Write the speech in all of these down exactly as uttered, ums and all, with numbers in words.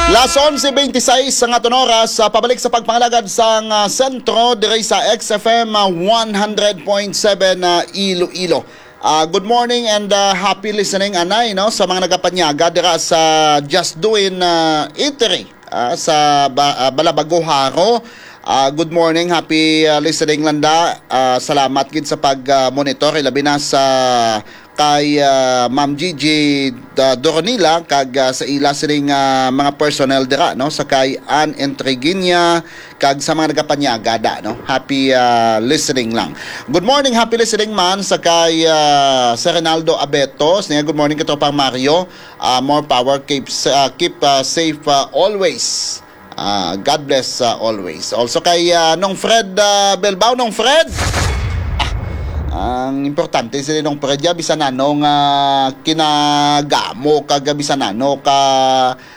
Las onse veintiséis ang aton oras, ah, pabalik sa pagpangalagad sang, ah, sentro diri sa X F M, ah, one hundred point seven, ah, Iloilo. Ah, good morning and, ah, happy listening, anay, no, sa mga nagapanyaga dira sa Just Doing, ah, Eatery, ah, sa Ba-, ah, Balabago, Jaro. Ah, good morning, happy, ah, listening, Landa. Ah, salamat gid sa pag, ah, monitor, ilabi na sa kay, ah, Ma'am Gigi, ah, Doronila, kag, ah, sa ila sining, ah, mga personnel dira, no, sa kay Ann Entreguiña, kag sa mga nagapanyaga da, no. Happy, ah, listening lang. Good morning, happy listening man sa kay, ah, Sir Renaldo Abeto. Siya, good morning, Katropang Mario. Ah, more power, keep, ah, keep, ah, safe, ah, always. Ah, God bless, ah, always. Also kay, ah, Nong Fred, ah, Belbao, Nong Fred. Ah, ang importante sila, Nong Fred, ya, bisan ano nga kinagamo kag bisan ano ka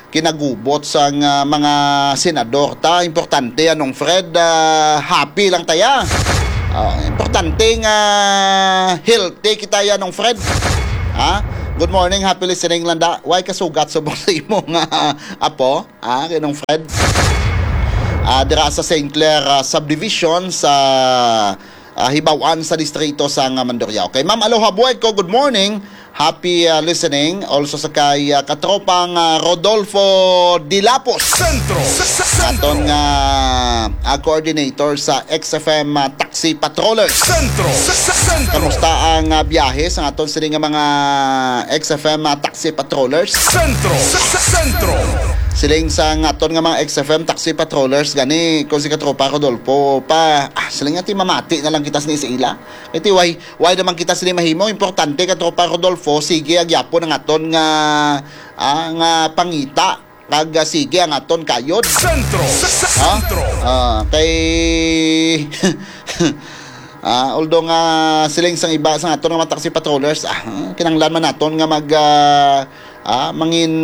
kinagubot sang, ah, mga senador ta. Importante, ah, Nong Fred, ah, happy lang ta ya. Ah, importante nga healthy kita ya, Nong Fred. Ha? Good morning, happy listening, Landa. Way kasugat subong sa imo nga apo? Ah, kay Nong Fred. Ah, dira sa Saint Clair, ah, Subdivision sa, ah, Hibaw-an sa distrito sa, ah, Mandurriao. Kay Ma'am Aloha Bueco, good morning. Happy, ah, listening. Also sa kay, ah, Katropang, ah, Rodolfo Dilapos. Sentro. Sa, sa, Sentro. Aton nga, ah, coordinator sa X F M, ah, Taxi Patrollers. Sentro. Sa, sa, Sentro. Kamusta ang, ah, biyahe sa aton sini nga mga X F M, ah, Taxi Patrollers? Sentro. Sa, sa, Sentro. Siling sa aton nga mga X F M Taxi Patrollers gani, kung si Katropa Rodolfo pa, ah, siling nga ti mamati na lang kita sini sa ila. Iti way, way naman kita sini mahimo. Importante, Katropa Rodolfo, sige agyapon ang aton nga, ah, nga pangita. Kag, ah, sige ang aton kayod. Sentro. Sa, sa, Ha? Sentro. Ah, kay, ah, although nga siling sang iba sa aton nga mga taxi patrollers, ah, kinahanglan man naton nga mag, ah, ah, mangin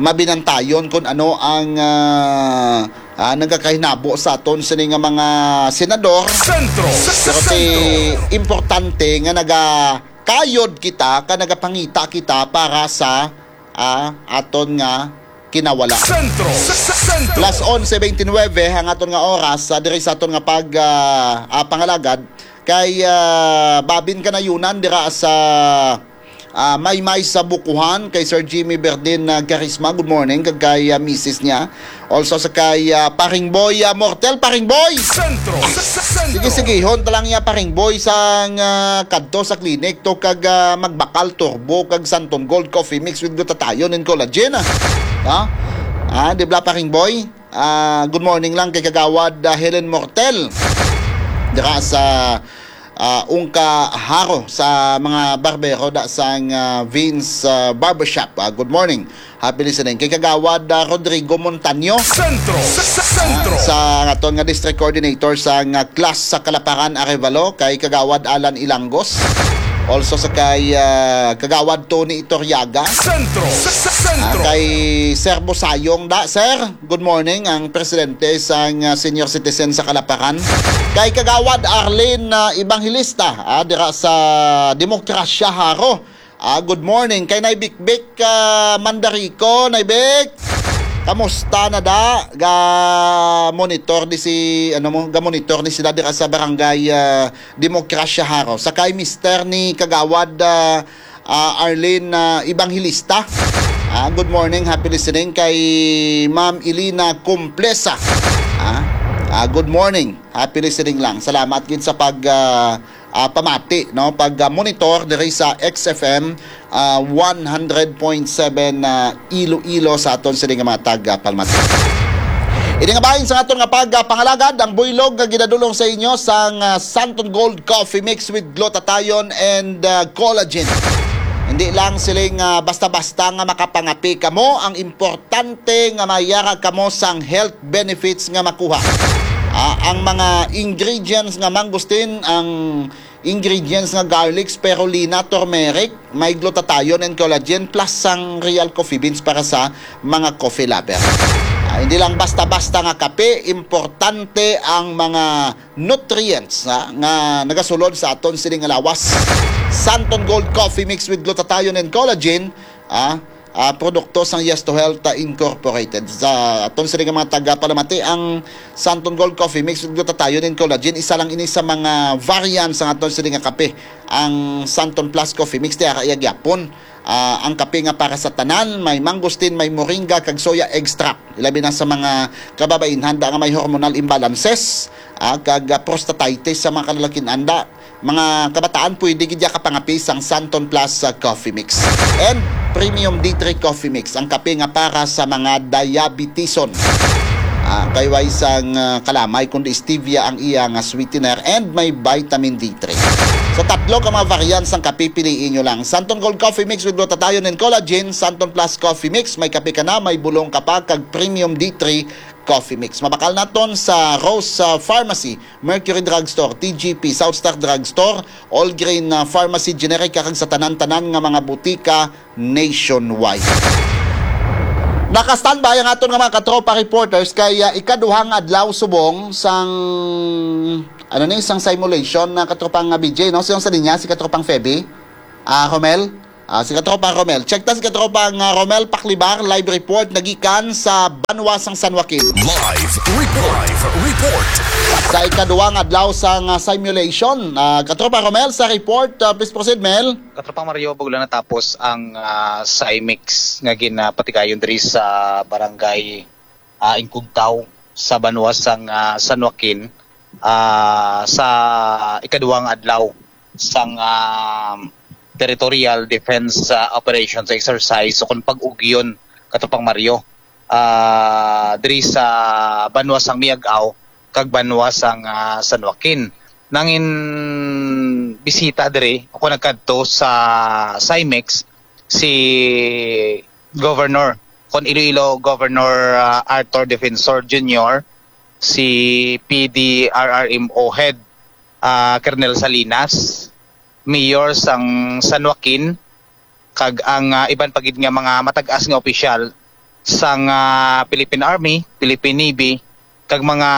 mabinantayon kung ano ang, ah, ah, nagakahinabo sa aton sini nga mga senador. Sentro. Sa, sa, Pero ti Sentro. Importante nga nagakayod kita, ka nagapangita kita para sa, ah, aton nga kinawala. Sentro. Sa, sa, Sentro. Las onse veintinueve ang aton nga oras, ah, diri sa aton nga pag, ah, ah, pangalagad kay, ah, Babin Kanayunan dira sa, ah, Maymay sa Bukuhan, kay Sir Jimmy Berdin, ah, Garisma, good morning, kag kay, ah, misis niya. Also sa kay, ah, Paring Boy, ah, Mortel, Paring Boy! Sentro. Sa, sa, Sentro. Sige, sigihon ta lang ya, Paring Boy, sang, ah, kadto sa clinic to kag, ah, magbakal turbo kag Santon Gold Coffee Mix with glutathione and collagen, ah. Ha? Ah, di bla, Paring Boy? Ah, good morning lang kay Kagawad, ah, Helen Mortel. Dira sa, ah, Ungka, Jaro, sa mga barbero da sang, ah, Vince, ah, Barbershop. Ah, good morning. Happy listening. Kay Kagawad, ah, Rodrigo Montaño. Sentro. Sa, sa, Sentro. Ah, sa aton nga district coordinator sa nga class sa Kalaparan, Arevalo, kay Kagawad Alan Ilangos. Also sa kay, ah, Kagawad Tony Itoriaga. Sentro. Sa, sa, Sentro. Ah, kay Sir Busayong da, sir. Good morning, ang presidente sang, ah, senior citizen sa Kalaparan. Kay Kagawad Arlene, ah, Evangelista, ah, dira sa Demokrasya, Jaro. Ah, good morning. Kay Nay Bikbik, ah, Mandarico, Nay Bik. Kamusta na da? Ga monitor di si, ano mo, ga monitor ni sila dira sa barangay, ah, Demokrasya, Jaro. Sa kay mister ni Kagawad, ah, ah, Arlene, ah, Evangelista. Ah, good morning, happy listening kay Ma'am Elena Complesa. Ah, ah, good morning, happy listening lang. Salamat gid sa pag, ah, ah, pamati, no, pag, ah, monitor diri sa X F M, ah, one hundred point seven, ah, Iloilo sa aton sini nga mga taga Palmati. Ini nga bahin sa aton nga pag, ah, pangalagad, ang buylog nga ginadulong sa inyo sang, ah, Santon Gold Coffee Mix with glutathione and, ah, collagen. Hindi lang siling, ah, basta-basta nga makapangapi kamo, ang importante nga mayara kamo sang health benefits nga makuha. Ah, ang mga ingredients nga mangustin, ang ingredients nga garlic, spirulina, turmeric, may glutathione and collagen, plus sang real coffee beans para sa mga coffee lover. Ah, hindi lang basta-basta nga kape, importante ang mga nutrients, ha, nga nagasulod sa aton sining nga lawas. Santon Gold Coffee Mix with glutathione and collagen, ah, ah, produkto sang Yes to Health, ah, Incorporated. Sa aton sini nga mga taga-palamati, ang Santon Gold Coffee Mix with glutathione and collagen, isa lang ini sa mga variant sang aton sini nga kape, ang Santon Plus Coffee Mix. Tiara iya gyapon, ah, ang kape nga para sa tanan, may mangosteen, may moringa, kag soya extract. Ilabi na sa mga kababain handa nga may hormonal imbalances, ah, kag, ah, prostatitis sa mga kalalakin anda. Mga kabataan, pwede gid ya kapangapi sang Santon Plus, ah, Coffee Mix. And Premium D three Coffee Mix, ang kape nga para sa mga diabetison. Ah, kay way sang, ah, kalamay, kundi stevia ang iya nga sweetener and may vitamin D three. So, tatlo ka mga variants sang kape, piliin nyo lang. Santon Gold Coffee Mix with glutathione and collagen, Santon Plus Coffee Mix, may kape ka na, may bulong ka pa, kag Premium D three Coffee Mix. Mabakal naton sa Rose, ah, Pharmacy, Mercury Drugstore, T G P, South Star Drugstore, All Grain, ah, Pharmacy, Generica, kag sa tanan-tanan nga mga butika nationwide. Naka-standby ang aton nga mga katropa reporters kay, ah, ikaduhang adlaw subong sang, ano ni, sang simulation na katropang nga B J, no? Sino sa linya? Si katropang Feby? Ah, Romel? Ah, si katropa Romel. Check ta si katropa nga Romel Paklibar, live report nagikan sa banwa sang San Joaquin. Live report. Live report. Sa ikaduwang adlaw sang, ah, simulation, ah, katropa Romel, sa report, ah, please proceed, Mel. Katropang Mario, bago lang natapos ang, ah, Simex nga ginapatigayon diri sa barangay, ah, Ingkugtaw sa banwa sang, ah, San Joaquin, ah, sa ikaduwang adlaw sang, ah, territorial defense, ah, operation sa exercise o kung pag-ugyon, katropang Mario, ah, diri sa banwa sang Miag-ao kag banwa sang, ah, San Joaquin. Nangin bisita diri o kung nagkadto sa Simex si Governor, kon Iloilo Governor, ah, Arthur Defensor Junior, si P D R R M O Head, ah, Colonel Salinas, Mayor sang San Joaquin, kag ang, ah, iban pa gid nga mga matag-as nga opisyal sang, ah, Philippine Army, Philippine Navy, kag mga,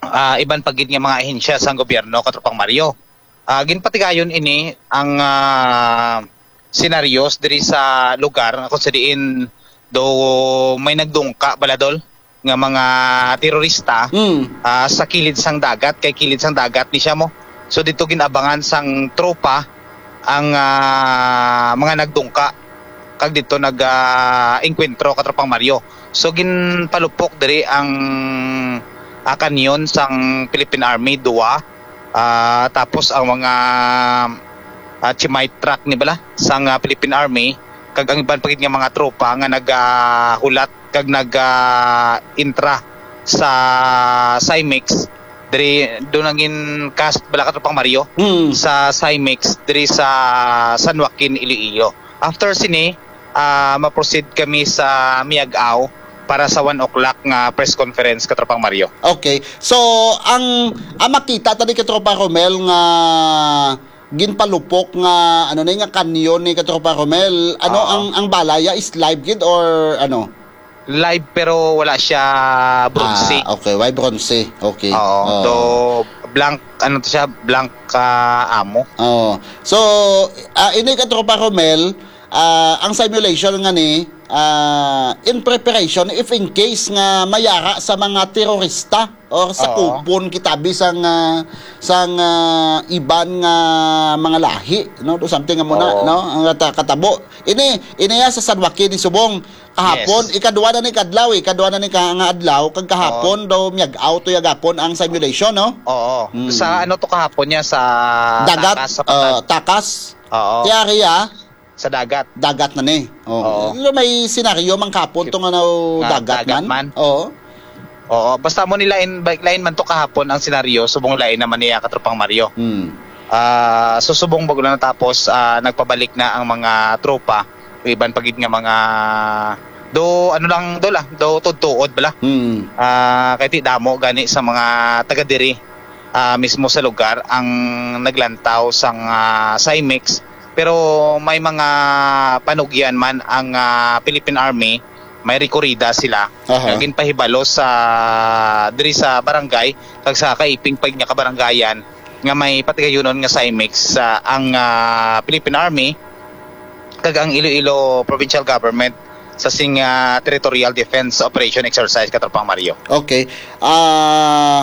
ah, iban pa gid nga mga ahensya sang gobyerno, katropang Mario. Ah, ginpatigayon ini ang, ah, senaryos diri sa lugar nga kung sa diin do may nagdungka, baladol, nga mga terorista, Mm. ah, sa kilid sang dagat, kay kilid sang dagat ni siya mo. So dito ginabangan sang tropa ang, ah, mga nagdungka kag dito nag, ah, engkwentro, katropang Mario. So ginpalupok diri ang, ah, kanyon sang Philippine Army, duwa. Ah, tapos ang mga, ah, Chimite truck ni bala sang, ah, Philippine Army kag ang iban pa gid nga mga tropa nga nagahulat kag nag, ah, intra sa Simex diri do nangin cast bala, katropang Mario, Mm. sa Simex diri sa San Joaquin, Iloilo. After sini, ah, ma-proceed kami sa Miag-ao para sa one o'clock nga press conference, katropang Mario. Okay. So, ang, ang makita tani, katropa Romel, nga ginpalupok nga, ano ni, nga kanyon ni, katropa Romel, ano, Oo. ang, ang bala ya is live gid or ano? Live pero wala siya bronze. Ah, okay. Why bronze? Okay. Oo. Oo. So, blank, ano to siya, blank, ah, ammo. Oo. So, ah, ini, katropa Romel, ah, ang simulation nga ni, ah, in preparation if in case nga mayara sa mga terorista or sa Oo. kupon kita bi sang, ah, sang, ah, iban nga mga lahi, no? Do something nga muna, Oo. no? Ang kata-, katabo. Ini, ini ya sa San Joaquin ni subong kahapon, Yes. ikadwa na ni kadlaw, ikadwa na ni ka-, nga adlaw, kag kahapon Oo. daw miag-out to yagapon ang simulation, no? Oo. Mm. Sa ano to kahapon niya, sa Dagat, takas, sa uh, Patan. takas. Oo. Tiari, ah. Sa dagat. Dagat na ni. Oo. Oo. Pero may senaryo man kahapon to nga na Nga dagat dagat man. man. Oo. Oo. Basta mo nila in, balik lain man to kahapon ang senaryo, subong lain naman niya, katropang Mario. Hmm. Ah, so subong bago lang natapos, ah, nagpabalik na ang mga tropa, iban pa gid nga mga do, ano lang, do lang, do tudtuod bala. Hmm. Ah, kay ti damo gani sa mga taga diri, ah, mismo sa lugar ang naglantaw sang, ah, Simex. Pero may mga panugyan man ang, ah, Philippine Army, may rekorida sila Aha. nga ginpahibalo sa diri sa barangay kag sa kaiping pa nga kabarangayan nga may patigayunon nga Simex, ah, ang, ah, Philippine Army kag ang Iloilo Provincial Government sa sing, ah, Territorial Defense Operation Exercise, Katropang Mario. Okay. Ah,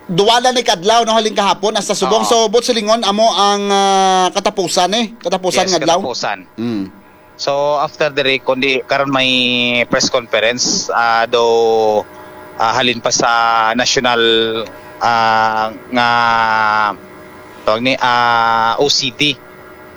duwa na ni kadlaw, no, halin kahapon hasta subong. Oo. So, buot silingon, amo ang, ah, katapusan, eh. Katapusan Yes, nga adlaw. katapusan. Mm. So, after diri, kundi karon may press conference, ah, do, ah, halin pa sa national, ah, nga, tawag ni, ah, O C D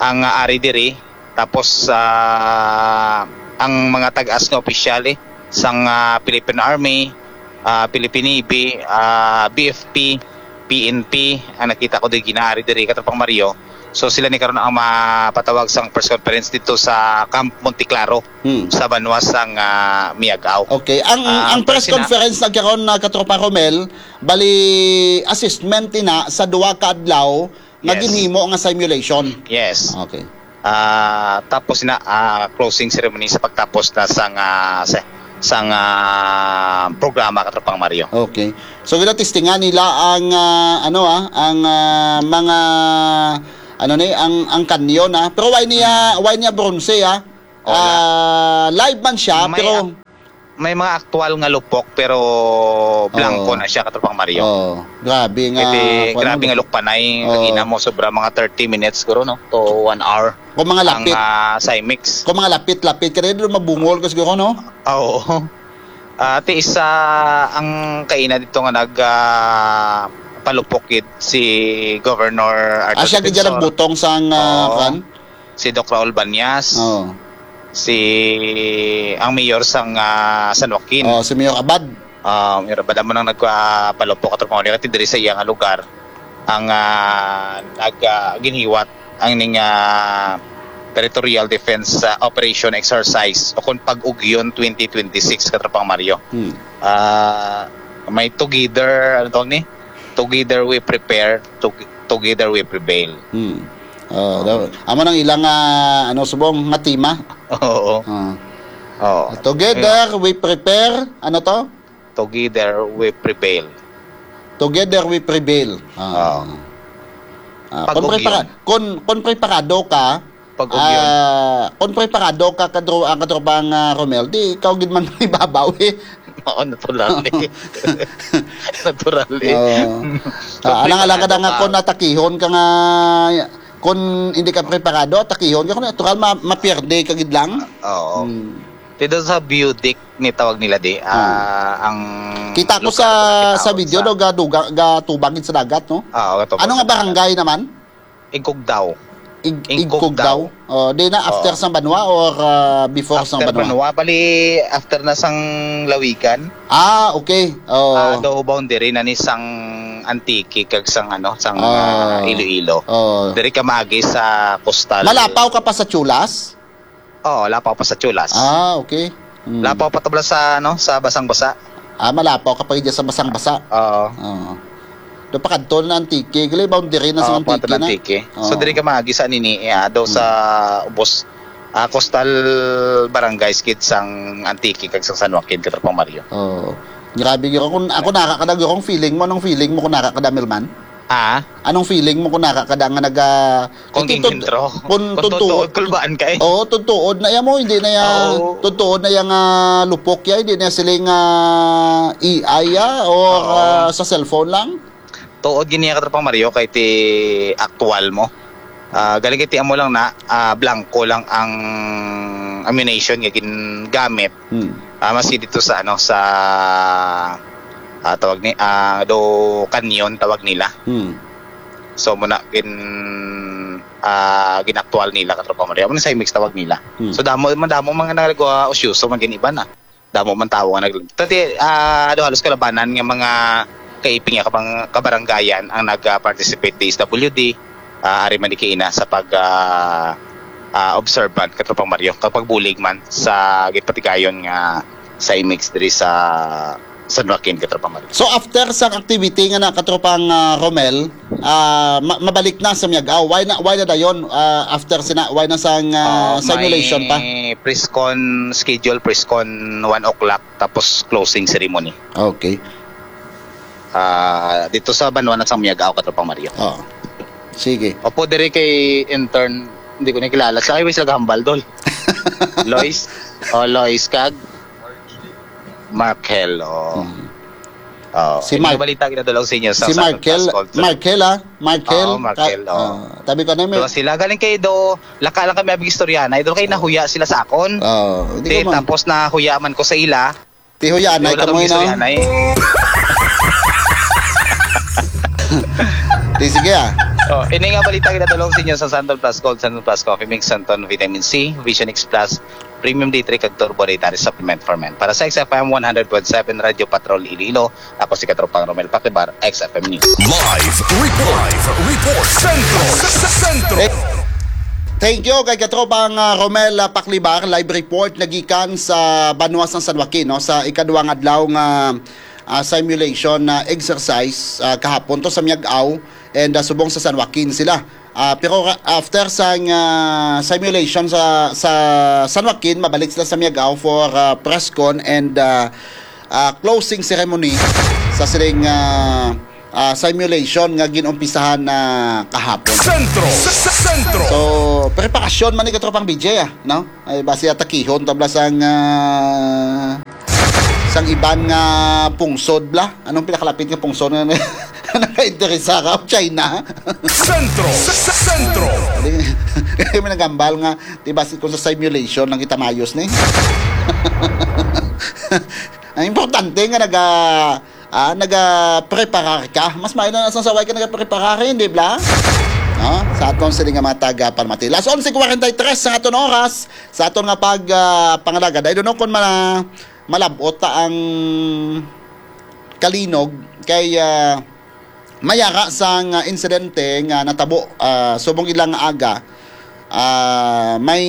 ang, ah, ari diri. Tapos, ah, ang mga tag-as nga opisyal, eh, sang, ah, Philippine Army, ah, Philippine Navy, ah, B F P, P N P, ang nakita ko diri ginaari diri, Katropang Mario. So, sila ni karon ang mapatawag sang press conference dito sa Camp Monte Claro, Hmm. sa banwa sang, ah, Miagao. Okay. Ang, Ah, ang press pero sina- conference na karon na, Katropa Romel, bali assessment ina sa duwa ka adlaw nga Yes. ginhimo nga simulation. Yes. Okay. Ah, tapos na, ah, closing ceremony sa pagtapos na sang, ah, sa, sang, ah, programa, Katropang Mario. Okay. So, ginatistingan nila ang, ah, ano, ah, ang, ah, mga, ano ni, ang, ang kanyon, ah. Pero why niya, why niya bronze, ah? Wala. Ah, live man siya, May pero ak-, may mga aktual nga lupok, pero blanco Oo. na siya, Katropang Mario. Oo. Grabe nga, Kasi kuwan, grabe nga lupok. Lukpanay, Oo. Lagina mo, sobra mga thirty minutes siguro, no? To one hour. Kung mga Ang, lapit. ah, Simix. Kung mga lapit-lapit ka rin, mabungol ka siguro, no? Ah, oo. Ah, ti isa ang kaina dito nga nag, ah, palupok gid si Governor Arthur Ah, siya gid Defensor. Nagbutong sang, ah, Oo. Kan? Si Doc Raul Banyas. Oo. Si, ang mayor sang, ah, San Joaquin. Oh, si Mayor Abad. Ah, Mayor Abad amo nang nagpalupok, Katropang Mario, kay diri sa iya nga lugar ang, ah, nag, ah, ginhiwat ang ning, ah, Territorial Defense, ah, Operation Exercise o kung Pag-Ugyon twenty twenty-six, Katropang Mario. Hmm. Ah, may together, ano tawag ni? Together we prepare, to-, together we prevail. Hmm. Oh, daw-, amo nang ilang, ah, ano, subong nga tema. Oo. Ah. Oo. Together we prepare, ano to? Together we prevail. Together we prevail. Ah. Oo. Ah, kung Pag-ugyon. prepara-, kung, kung preparado ka, Pag-ugyon. Ah, kung preparado ka, kadro-, ang Katropang, ah, Romel, di ikaw gid man ibabaw, eh. Oo, natural, eh. Natural, eh. Oo. Kung Ah, alang-alang ka na preparado nga ka. Kung atakihon ka nga, kung hindi ka preparado, atakihon ka, kung natural, ma-, mapierde ka gid lang. Oo. Hmm. Dito sa Budik ni tawag nila di, Hmm. ah, ang Kita ko lugar sa, kung nakita sa ko video, sa no, gaduga-, gatubag gid sa dagat, no? Ah, gatubag Ano sa nga dagat. barangay naman? Igkugdaw. Ig-, Igkugdaw. Igkugdaw. Oh, di na after Oo. sang banwa or, ah, before sang After banwa? banwa, bali, after na sang Lawigan. Ah, okay. Oh. Ah, do boundary na ni sang Antique kag sang, ano, sang, Ah. ah, Iloilo. Oh. Diri ka maagi sa coastal. Malapaw ka pa sa Chulas? Oo, lapaw pa sa Chulas. Ah, okay. Mm. Lapaw pa tabla sa, ano, sa Basang-Basa. Ah, malapaw ka pa dyan sa Basang-Basa. Oo. Oo. Do pa kadto na Antique, gali boundary na sa Oo, Antique pa na. Antique. So, Oo. diri ka maagi sa nini, eh, ah, do sa Mm. ubos, ah, coastal barangays gid sang Antique kag sang San Joaquin, Katropang Mario. Oo. Grabe gyud. Kung ako nara ka da, kung feeling mo, anong feeling mo kung nara ka da, Milman? Ah? Anong feeling mo kung nara ka da nga naga-, Kung ito, tun-, ginhentro. kung Kung tuntuod. tutuod, kulbaan ka eh. Oo, tuntuod na yan mo, hindi na yan, Oo. tuntuod na yan nga lupok yan, hindi na siling, ah, A I, ah, or, Oo. ah, sa cellphone lang? Tuod gini, Katropang Mario, kay ti aktual mo. Ah, galing kay ti amo lang na, ah, blanco lang ang ammunition nga gingamit. Hmm. Ah, maski dito sa, ano, sa, ah, tawag ni, ah, do kanyon tawag nila. Hmm. So, muna gin-, ah, ginaktual nila, Katropang Mario. Amo na sa Imix tawag nila. Hmm. So, damo, madamo mga nagagawa, usyoso, man gin iba na. Damo man tawo nga nag-, tati, ah, do halos kalabanan nga mga kaiping nga kabang-, kabaranggayan ang nag-, ah, participate D S W D, ah, ari man di kaina sa pag, ah, ah, observant, Katropang Mario, kapag bulig man sa gipatigayon nga sa Imix diri sa San Joaquin, Katropang Mario. So, after sang activity nga na, Katropang, ah, Romel, ah, ma-, mabalik na sa Miag-Aw. Why na, why na dayon, ah, after sina, why na sang, ah, Ah, simulation may pa? Press con schedule, press con one o'clock, tapos closing ceremony. Okay. Ah, dito sa banwa na sang Miag-Aw, Katropang Mario. Oo. Sige. Opo, diri kay intern, Hindi ko nakilala. Sa highway sila gahambal, dol. Lois. O, Lois kag Markel. O. Hmm. O, Si ini Mark. Balita ginadulog sa inyo sa Si Santo Markel, Blas Call Center. Markel, ah. Markel. Oo, Markel, Ka- oo. Ah, tabi ka na, may Duha sila. Galing kay do, laka lang kami abig istorya na. Idol kay nahuya sila sa akon. Oo, hindi Di, ko ma- tapos nahuya man ko sa ila. Tihuyan, ay Wala kamoy kami na. Istorya na eh. Di, sige, ah. Oh, ini nga balita ginadulog sa inyo sa Santon Plus Gold, Santon Plus Coffee Mix, Santon Vitamin C, Vision X Plus, Premium D three, kag Turbo Dietary Supplement for Men. Para sa X F M one hundred point seven Radio Patrol Iloilo, ako si Katropang Romel Pakibar, X F M News. Live report. Live report. Sentro. Sentro. Eh, thank you kay Katropang, ah, Romel, ah, Paklibar. Live report nagikan sa banwa sang San Joaquin, no, sa ikaduhang adlaw nga, ah, simulation na exercise, ah, kahapon to sa Miag-ao and, ah, subong sa San Joaquin sila. Ah, pero ra-, after sang, ah, simulation sa, sa San Joaquin, mabalik sila sa Miag-ao for, ah, press con and, ah, ah, closing ceremony sa sining, ah, ah, simulation nga ginumpisahan na kahapon. Sentro. Sentro. So, preparasyon man ni Katropang B J, ah, no? Ay, basi atakihon tabla sang, ah, sang iban nga pungsod bla. Anong pinakalapit nga pungsod nga nakainteresa ka? China? Sentro. Sentro. Kami nagambal nga, di ba, si, kung sa simulation lang kita mayos ni. Ang importante nga naga, ah, nagapreparar ka. Mas maayo na sa saway ka nagapreparar, hindi bla? No? Sa aton sila nga mga taga Palmati. Las onse cuarenta y tres sa aton oras, sa aton nga pag, ah, pangalagad. I don't know kung ma-, malabot ta ang kalinog kay, ah, mayara sang, ah, insidente nga natabo, ah, subong ilang aga. Ah, may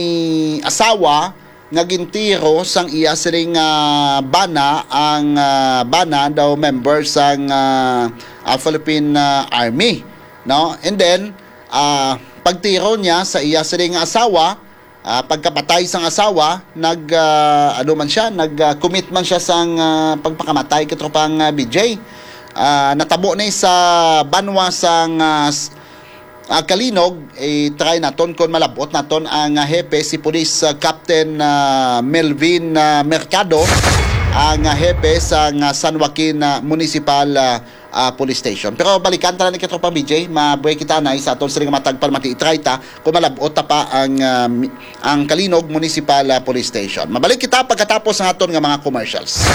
asawa nga gintiro sang iya siling, ah, bana, ang, ah, bana daw member sang, ah, ah, Philippine, ah, Army, no? And then, ah, pagtiro niya sa iya siling asawa, ah, pagkapatay sang asawa, nag, ah, ano man siya, nag, ah, commit man siya sang, ah, pagpakamatay, Katropang, ah, B J. Ah, natabo ni sa banwa sang, ah, s-, ah, Kalinog, i-try naton kung malabot naton ang, ah, hepe, si Police, ah, Captain, ah, Melvin, ah, Mercado, ang, ah, hepe sang, ah, San Joaquin, ah, Municipal, ah, ah, Police Station. Pero balikan ta na ni Katropang B J, mabuhay kita na sa aton siling matag palmati, i-try ta kung malabot ta pa ang, ah, mi-, ang Kalinog Municipal, ah, Police Station. Mabalik kita pagkatapos ng aton nga mga commercials.